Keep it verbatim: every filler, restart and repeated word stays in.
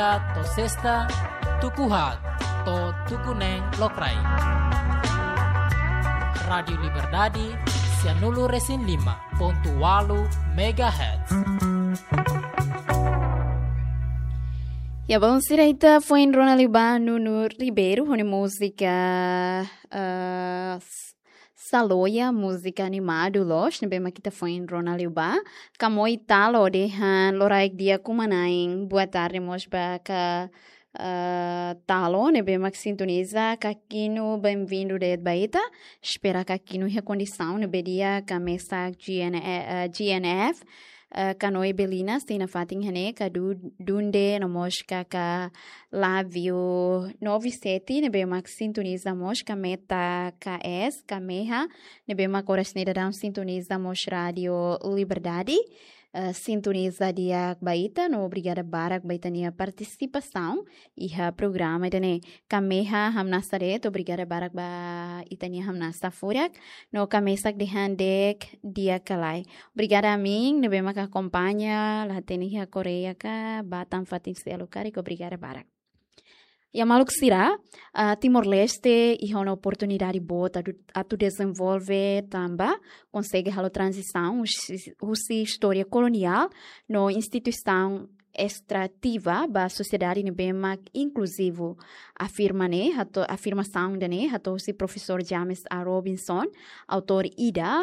To'o sesta, tuku haat to'o tuku neen lokraik. Rádiu Liberdade, sianulu resin lima pontu ualu megahertz. Ya, bom, sira ita foin rona liu ba Nuno Ribeiro ho nia múzika, eh, s-, Saloia, múzika animadu loos, ne'ebé mak ita foin rona liu ba. Kamoi Talo dehan loraik di'ak uma-na'in, boa tarde mós ba ka, eh, Talo, ne'ebé mak sintoniza, Kakinu, bem-vindo de'it ba ita. Espera Kakinu iha kondisaun ne'ebé di'ak, ka mesak G N, eh, G N F, eh, Kanoe Belina, sei nafatin iha ne'e, ka Du-, Dunde, no mós ka, ka Lávio nove sete, ne'ebé mak sintoniza mós, ka Meta K S, ka Meha, ne'ebé mak oras ne'e daudaun sintoniza mós Rádiu Liberdade. Eh, sintoniza di'ak ba ita, no obrigada barak ba ita-nia partisipasaun iha programa ida-ne'e. Ka Meha hamnasa de'it, obrigada barak ba ita-nia hamnasa furak, no ka mesak dehan di'ak ka lae. Obrigada amu ne'ebé mak akompaña, la hatene iha Koreia ka, ba tan fatin seluk karik, obrigada barak. Ya maluk sira, ah, Timor-Leste iha ona oportunidade boot atu, atu dezenvolve tanba konsege halo tranzisaun husi, husi istória koloniál no instituisaun estrativa ba sosiedade ne'ebé mak inkluzivu. Afirma ne'e, hato'o, afirmasaun ida-ne'e hato'o husi Profesór James A. Robinson, autór ida